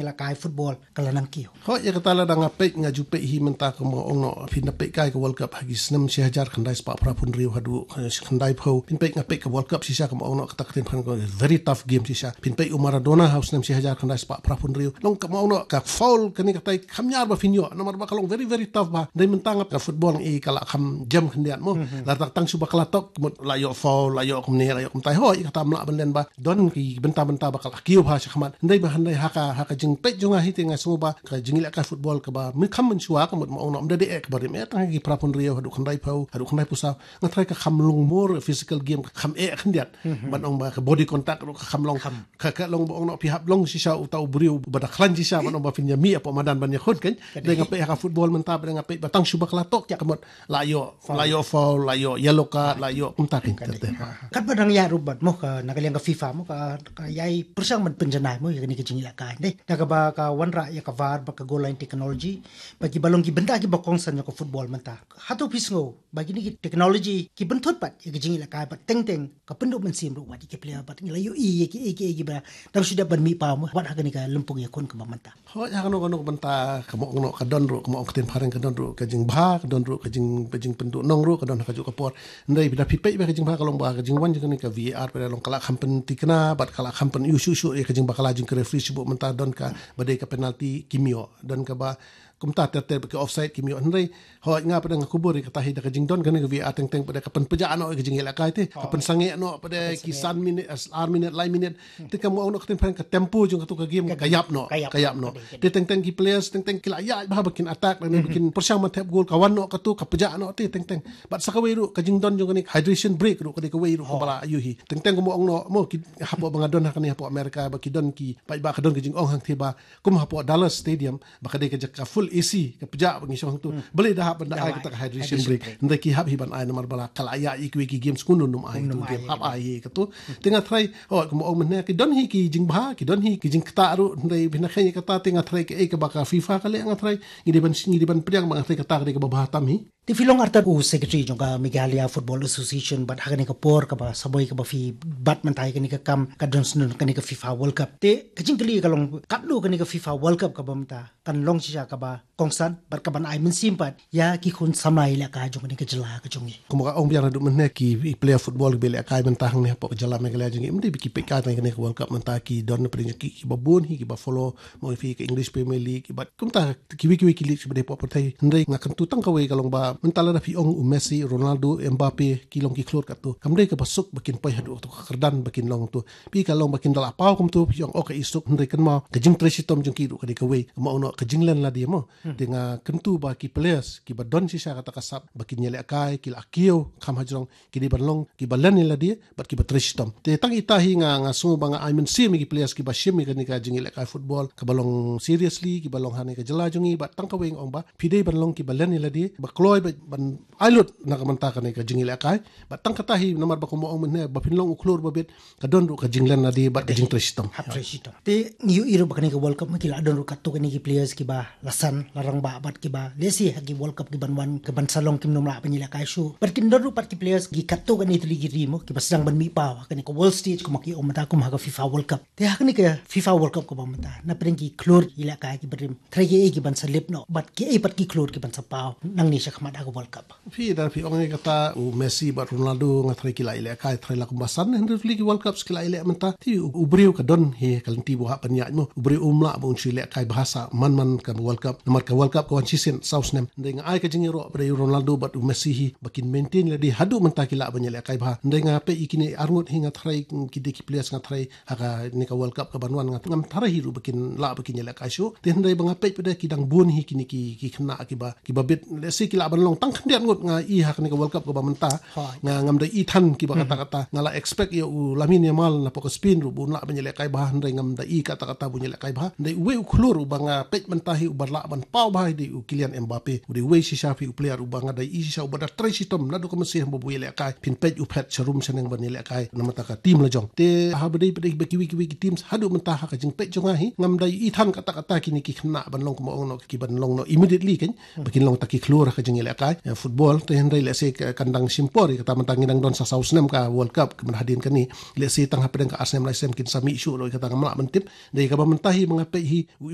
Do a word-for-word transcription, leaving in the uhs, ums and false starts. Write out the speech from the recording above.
ïalehkai football ka la nang kiew. Hooid, ïa kata lada nga peit, nga ju peit hi mynta, kumba ong noh, phin da peit kai ka World Cup ha ki snem shi hajar khyndai spah phra phew hynriew haduh, eh, khyndai phew. Phin peit, nga peit ka World Cup shisha, kumba ong noh, kata ka ktien phareng ka very tough game shisha. Phin peit u Maradona ha u snem shi hajar khyndai spah phra phew hynriew. Long kumba ong noh, ka foul kane katai kham ñiar ba phin ïoh, namar ba ka long very, very tough bha. Dei mynta nga ka football ngi ka la kham jem khyndiat mo. Lada tang shu ba ka la tok, mut la ïoh foul, la ïoh kumne, la ïoh kumtai. Hooid, kata ym lah ban len ba don ki bynta bynta ba ka la kiew bha shakhmat. Dei ba hynrei ha ka, ha ka jingpeit jong nga hi te nga sngew ba ka jingïalehkai football kaba mynkham mynshuwa, ka mut ma ong noh, ym da dei eh kaba rim eh, tang ki phra phew hynriew haduh khyndai phew, haduh khyndai phew saw, nga tharai ka kham long more physical game, ka kham eh khyndiat. Ban ong ba ka body contact ruh ka kham long. Ka, ka long ba ong noh phi hap long shisha uta u briew ba da khlaiñ shisha, ban ong ba phin ïa mih hapoh madan ban ïakhun kan. Dei nga peit ha ka football mynta, ba dei nga peit ba tang shu ba ka la tok, ka mut la ïoh, la ïoh foul, la ïoh yellow card, la ïoh kumta kan. Katba dang ïa rubat mo ka, na ka liang ka FIFA mo ka, ka ïai pyrshang ban pynjanai mo ïa kane ka jingïalehkai. Dei na kaba ka wanrah ïa ka VAR bad ka goal line technology, ba kiba long ki bynta kiba kongsan ïa ka football mynta. Hato phi sngew ba kine ki technology ki pynthut pat ïa ka jingïalehkai, bad teng teng ka pynduh mynsiem ruh wat ïa ki player, bad ngi la ïohi ïa ki, ïa ki, ïa kiba dang shu dep ban mih paw mo wat ha kane ka lympung ïakhun kaba mynta. Hooid, ha kano kano ka bynta, kumba ong noh, ka don ruh, kumba ong ka ktien phareng, ka don ruh ka jingbha, ka don ruh ka jing, ka jingpynduh nong ruh, ka don ha kajuh ka por. Hynrei lada phi peit ba ka jingbha ka long ba ka jingwan jong kane ka VAR pat long ka la kham pynthikna, bad ka la kham pyn-ïoh shuh shuh ïa ka jingbakla jong ki referee shuh, bad mynta don kaba dei ka penalty kim ïoh, don kaba kumta ter ter ba ki offside kim ïoh. Hynrei hooid, nga pat nga kubur ïa kata hi, da ka jingdon kane ka VAR teng teng pat ka pynpjah noh ïa ka jingïalehkai te, ka pynsangeh noh pat ki san minit, ar minit, lai minit. Te kumba ong noh ka ktien phareng, ka tempo jong katu ka game ka ïap noh, ka ïap noh. Te teng teng ki players teng teng ki la ïaid bha ba kin attack, lane ba kin pyrshang ban thep goal, ka wan noh katu, ka pjah noh te teng teng. Bad sa kawei ruh ka jingdon jong kane hydration break ruh ka dei kawei ruh kaba la ïohi. Teng teng kumba ong noh mo ki, hapoh ba nga don ha kane hapoh America, ba ki don ki, ba ka don ka jingong hangtei ba kum hapoh Dallas Stadium, ba ka dei ka jaka full AC, ka pjah ba ngi shong hangtu. Balei da hap ban da ai kata ka hydration break? Hynrei ki hap hi ban ai, namar ba la ka la ïaid ïa kiwei ki games kumno nym ai, nym ai, hap ai hi katu. Te nga tharai, oh, kumba ong mynne, ki don hi ki jingbha, ki don hi ki jingktah ruh, hynrei bad na kane kata te nga tharai kaei kaba ka FIFA ka leh, nga tharai ngi dei ban, ngi dei ban pdiang ba nga tharai kata ka dei kaba bha tam hi. Te phi long artat u secretary jong ka Meghalaya Football Association, bad ha kane ka por kaba sa boi kaba phi bat mynta ïa kane ka kam ka don shnong kane ka FIFA World Cup. Te ka jingkylli ka long, katno kane ka FIFA World Cup kaba mynta kan long shisha kaba kongsan bad kaban ai mynsiem pat ïa ki khun samla ïalehkai jong kane ka jylla ka jong ngi? Kumba nga ong biang naduh mynne, ki player football kiba ïalehkai mynta hangne hapoh ka jylla Meghalaya jong ngi, ym dei ba ki peit kai tang ïa kane ka World Cup mynta, ki don na pdeng jong ki kiba bun hi kiba follow, mo phi ka English Premier League, bad kumta kiwei kiwei ki league kiba dei hapoh pyrthei. Hynrei nga kyntu tang kawei ka long ba mynta lada phi ong u Messi, Ronaldo, Mbappe ki long ki khlur katu, kam dei kaba suk ba kin poi haduh katu ka kyrdan ba kin long tu. Phi ka long ba kin da la paw kumtu phi ong, oh, ka i suk, hynrei kynmaw ka jingtrei shitom jong ki ruh ka dei kawei, kumba ong noh, ka jinglen lade mo. Te nga kyntu ba ki players kiba don shisha kata ka sap ba kin ïalehkai, ki la kiew kham hajrong, ki dei ban long kiba len ïa lade bad kiba trei shitom. Te tang ita hi nga, nga sngew ba nga ai mynsiem ïa ki players kiba shim ïa kane ka jingïalehkai football kaba long seriously, kiba long hangne ka jylla jong ngi, bad tang kawei nga ong ba phi dei ban long kiba len ïa lade, ba kloi ba ban ai lut na ka bynta kane ka jingïalehkai. Bad tang kata hi, namar ba kumba ong mynne, ba phin long u khlur ba bit, ka don ruh ka jinglen lade bad ka jingtrei shitom. Hap trei shitom. Te ngi ïohi ruh ba kane ka World Cup ma ki la don ruh katto katne ki players kiba la san, la rangbah bad kiba lehse ha ki World Cup kiban wan, kiban sa long kim nym lah ban ïalehkai shuh. Bad kin don ruh pat ki players ki katto katne tylli ki ri mo kiba sdang ban mih paw ha kane ka world stage, kumba ki ong mynta, kum ha ka FIFA World Cup. Te ha kane ka FIFA World Cup kaba mynta, na pdeng ki khlur ïalehkai kiba rim, tharai kiei kiban sa lip noh bad kiei pat ki khlur kiban sa paw nangne shakhmat ha ka World Cup? Phi, da phi ong ïa kata, u Messi bad Ronaldo nga tharai ki la ïalehkai tharai la kumba san hynriew tylli ki World Cups ki la ïaleh mynta. Te u, u briew ka don hi ka lynti ba u hap ban ïaid mo. U briew um lah ba un shu ïalehkai bha sa man man ka World Cup, namar ka World Cup ka wan shisien saw snem. Hynrei nga ai ka jingïaroh ba dei u Ronaldo bad u Messi hi ba kin maintain lade haduh mynta ki lah ban ïalehkai bha. Hynrei nga peit ïa kine arngut hi nga tharai ki dei ki players nga tharai ha kane ka World Cup kaban wan nga ngam tharai hi ruh ba kin lah ba kin ïalehkai shuh. Te hynrei ba nga peit pat de ki dang bun hi kine ki, ki khynnah kiba, kiba bit, lehse ki lah ban long tang khyndiat ngut nga i ha kane ka World Cup kaba mynta. Nga ngam da i than kiba kata kata. Nga la expect ïa u Lamine Yamal napoh ka Spain ruh ba un lah ban ïalehkai bha, hynrei ngam da i kata kata ba un ïalehkai bha. Hynrei uwei u khlur uba nga peit mynta hi uba lah ban paw bha hi dei u Kylian Mbappe, u dei uwei shisha phi u player uba nga da ïohi shisha uba da trei shitom naduh ka mynsiem ba u ïalehkai, phin peit u phet sharum shaneng ban ïalehkai namar ka team la jong. Te haba dei pat dei ba kiwei kiwei ki teams haduh mynta ha ka jingpeit jong nga hi ngam da ïohi than katta katta kine ki khynnah ban long kumba ong noh ki ban long noh immediately kan, ba kin long ta ki khlur ha ka jingïalehkai, eh, football. Te hynrei lehse ka, kan dang shim por ïa kata, mynta ngi dang don sa saw snem ka World Cup, ka mynta hadien kane lehse tang hapdeng ka ar snem lai snem kin sa mih shuh ruh ïa kata ngam lah ban tip. Dei kaba mynta hi ba nga peit hi u